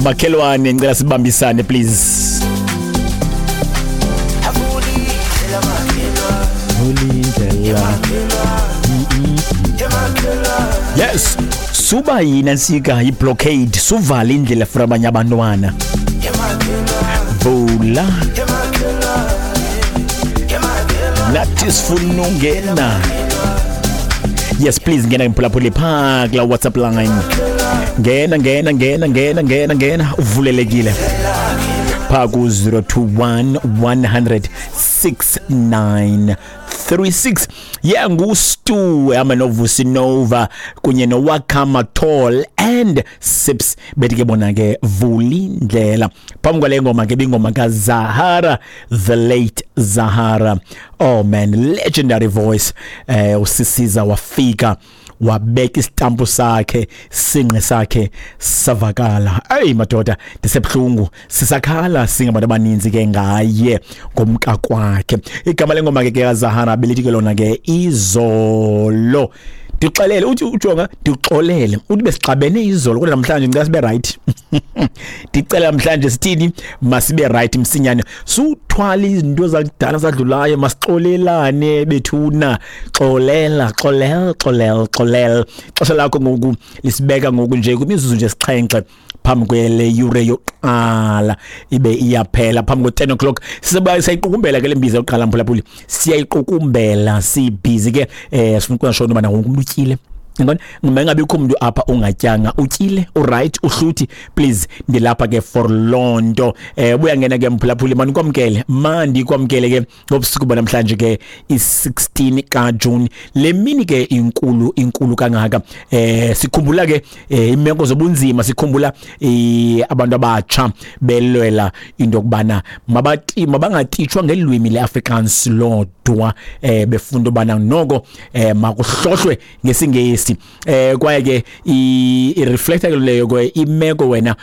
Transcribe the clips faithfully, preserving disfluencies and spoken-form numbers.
Makhelwane, ngicela sibambisane, please. Vulindlela. Yes, suba yina nsika i-blockade, suvala indlela for abanye abantwana. Vula. Nathi sifuna ungena. Yes, please, ngena mphulaphuli phaa kula WhatsApp line. Ngena, ngena, ngena, ngena, ngena, ngena, uvulelekile phaa ku zero two one one hundred six nine three six. Yeah, nguStu ehamba noVusi Nova kunye noWakama Tall and Sips, bethi ke bona ke "Vulindlela". Phambi kwale ngoma ke bingoma kaZahara, the late Zahara. Oh man, legendary voice. eh usisiza wafika wabeka isitampu sakhe, sinqe sakhe savakala. Ey madoda, ndisebuhlungu, sisakhala singabantu abaninzi ke ngaye ngomka kwakhe. Igama lengoma ke kaZahara belithi ke lona ke "Izolo". Ndixelele, uthi ujonga, ndixolele, uthi besixabene izolo, kodwa namhlanje ngicela sibe right. Ndicela namhlanje sithini? Masibe right msinyane, suthwala izinto zakudala zadlulayo, masixolelane bethuna. Xolela, xolela, xolela, xolela. Xesha lakho ngoku lisibeka ngoku nje kwimizuzu nje sixhenxe phambi kwele yure yokuqala ibe iyaphela, phambi kwe-ten o'clock. Sizoba siyayiqukumbela ke le mbiza yokuqala, mphulaphuli, siyayiqukumbela. Sibhizi ke, eh sifuna ukwenza sure ubana wonke umuntu utyile. Ngibona ngingabikho umuntu apha ungatyanga, utyile, uright, uhluthi. Please, ndilapha ke for lonto. eh buya ngena ke mphulaphuli, mani kwamkele, mandi kwamkele ke ngobusuku banamhlanje ke, i-sixteen ka June, le mini ke inkulu, inkulu kangaka. eh sikhumbula ke eh, imeko zobunzima, sikhumbula eh, abantu abatsha belwela into yokubana mabati mabangatitshwa ngelwimi leAfrikaans lodwa, eh befunda ubana noko eh makuhlohlwe ngesiNgesi. eh kwaye ke i-reflecta ke leyo ke imeko wena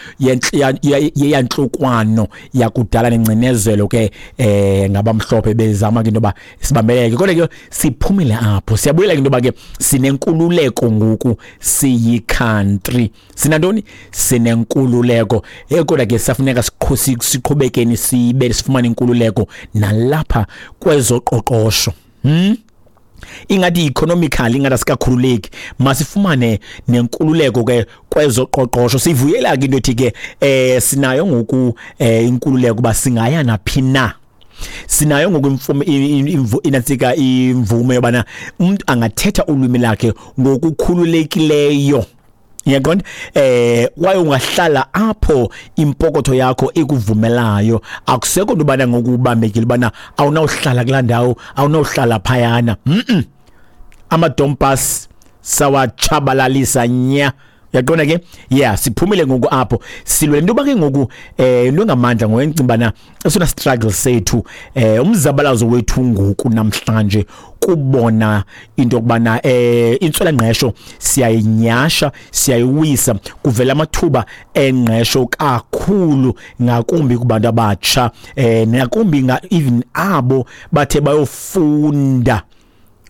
yeyanhlukwano yakudala nengcinezelo ke eh ngabamhlophe bezama ke into ba sibambeleke, kodwa ke siphumile apho. Siyabuyela ke into ba ke sinenkululeko ngoku, siyi country, sinantoni? Sinenkululeko. eh kodwa ke safuneka siqhubekeni sibe sifumane inkululeko nalapha kwezoqoqosho. hmm ingathi economically ingathi asikakhululeki, masifumane nenkululeko ke kwezoqoqosho. Sivuyela ke into ethi ke eh sinayo ngoku eh inkululeko ba singaya naphi na. Sinayo ngoku imfume, inatsika, imvume yobana umuntu angathetha ulwimi lakhe ngokukhululekileyo. Uyaqonda? eh kwaye ungahlala apho impokotho yakho ikuvumelayo. Akusekho nto ubana ngokubambekile ubana awunawuhlala kulaa ndawo, awunawuhlala phayana. mm Amadompas sawatshabalalisa nya. Uyaqonda ke? Yeah, siphumile ngoku apho, silwele into ke ngoku eh into engamandla ngoyencimbana. Esona struggle sethu, eh umzabalazo wethu ngoku namhlanje kubona into yokubana eh intswela ngqesho siyayinyasha, siyayiwisa, kuvela amathuba engqesho kakhulu, ngakumbi kubantu abatsha, eh ngakumbi even abo bathe bayofunda.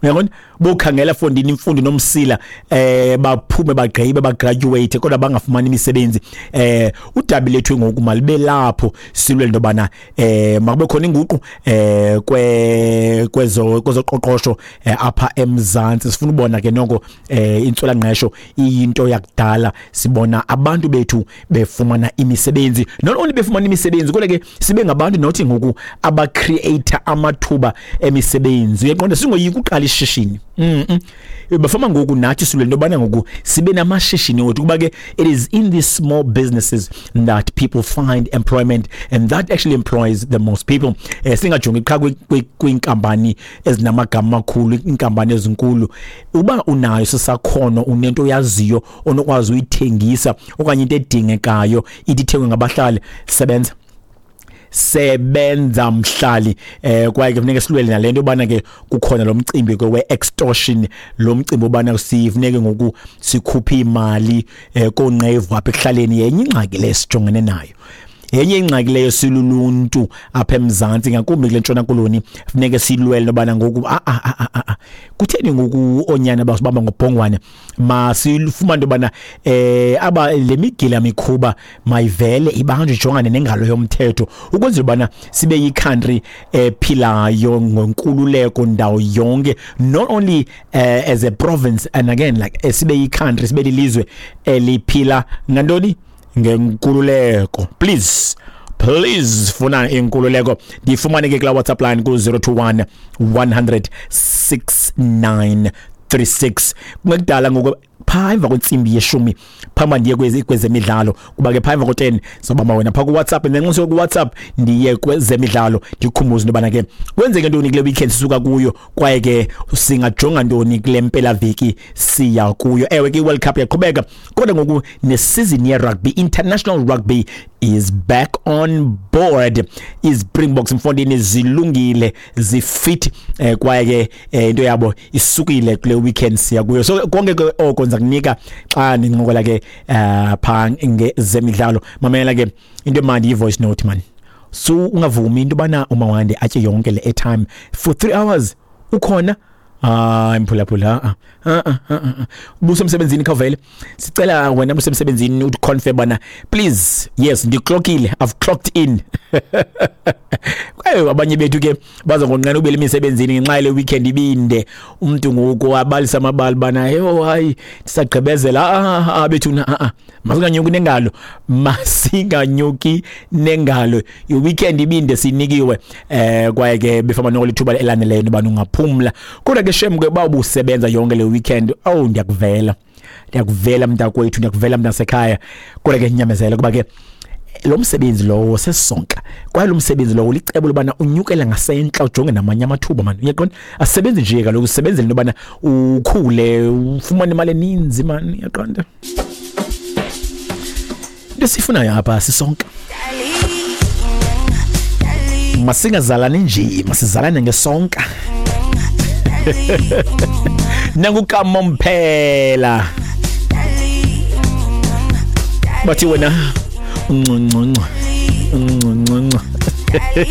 Uyabona, bokhangela fondini imfundo nomsila, eh baphume, bagqibe, bagraduate, kodwa bangafumani imisebenzi. eh udabi lethu ngoku malibe lapho, silwe into bana eh makube khona inguqu eh kwe kwezo kwezoqoqosho eh, apha eMzantsi. Sifuna ubona ke noko eh intswela ngqesho iyinto yakudala, sibona abantu bethu befumana imisebenzi. Not only befumana imisebenzi, kodwa ke sibe ngabantu nothi ngoku aba create amathuba emisebenzi. Uyaqonda, singoyika uqala ishishini. mm -mm. Bafama ngoku nathi silwe into yobana ngoku sibe namashishini wethu, kuba ke it is in these small businesses that people find employment and that actually employs the most people. eh singajongi qha kwiinkampani ezinamagama amakhulu, iinkampani ezinkulu. Uba unayo sisakhono, unento oyaziyo onokwazi uyithengisa okanye into edingekayo ithi ithengwe ngabahlali, sebenza, sebenza mhlali. eh kwaye ke kufuneka silwele nalento yobana ke kukhona lo mcimbi ke we-extortion, lo mcimbi obana sifuneke ngoku sikhuphe imali eh konqevu apha ekuhlaleni. Yenye ingxaki lesijongene nayo. Yenye ingxaki leyo siluluntu apha eMzantsi, ngakumbi kule Ntshona Koloni, funeke silwele nobana ngoku a a a a kutheni ngoku oonyana basibamba ngobhongwane. Masifumane into yobana eh aba le migila mikhuba mayivele ibanjwe, ijongane nengalo yomthetho, ukwenzela ubana sibe yi-country ephilayo ngenkululeko ndawo yonke, not only uh, as a province and again like sibe yi-country, sibe lilizwe eliphila ngantoni, ngenkululeko. Please, please, funa inkululeko. Ndifumane ke kula WhatsApp line ku zero two one one hundred six nine three six. Kungekudala ngoku phaa emva kwentsimbi yeshumi, phambi ndiye kwezi kwezemidlalo, kuba ke phaa emva ko-ten sobamba wena phaa ku-WhatsApp, and then nxa ku-WhatsApp ndiye kwezemidlalo, ndikukhumbuze into yobana ke kwenzeke ntoni kule weekend sisuka kuyo, kwaye ke singajonga ntoni kule mpelaveki siya kuyo. Ewe ke i-World Cup iyaqhubeka, kodwa ngoku ne-season ye-rugby, international rugby is back on board. I-Springboks mfondini zilungile, zifit, eh, kwaye ke eh, into yabo isukile kule weekend siya kuyo. So konke ke oko ndiza kunika xa ndincokola ke uh, phaa ngezemidlalo. Mamela ke into emandi, yi-voice note man. So ungavumi into yobana uMawande atye yonke le airtime for three hours ukhona. Hayi mphulaphula, a a a ubusemsebenzini, khawuvele sicela wena busemsebenzini uconfirm bana please, yes, ndiclockile, I've clocked in. Kwaye abanye bethu ke baza ngonqena ubele emisebenzini ngenxa yale weekend ibinde, umuntu ngoku abalisa amabali bana yho hayi ndisagqibezela. Ah ah bethuna, a a masinganyuki nengalo, masinganyuki nengalo, i-weekend ibinde sinikiwe, eh kwaye ke befama noko lithuba elaneleyo noba ungaphumla. Kodwa ke shem ke bawubusebenza yonke le weekend, oh ndiyakuvela, ndiyakuvela mntakwethu, ndiyakuvela mntasekhaya. Kodwa ke nyamezela, kuba ke lo msebenzi lowo sesonka, kwaye lo msebenzi lowo licebo lobana unyukela ngasentla ujonge namanye amathuba man. Uyaqonda, asebenzi nje kaloku, usebenzele into yobana ukhule ufumane imali eninzi man. Uyaqonda, into esifunayo apha sisonka, masingazalani nje, masizalane ngesonka. Nangukamomphela bathi wena unconconco unconconco.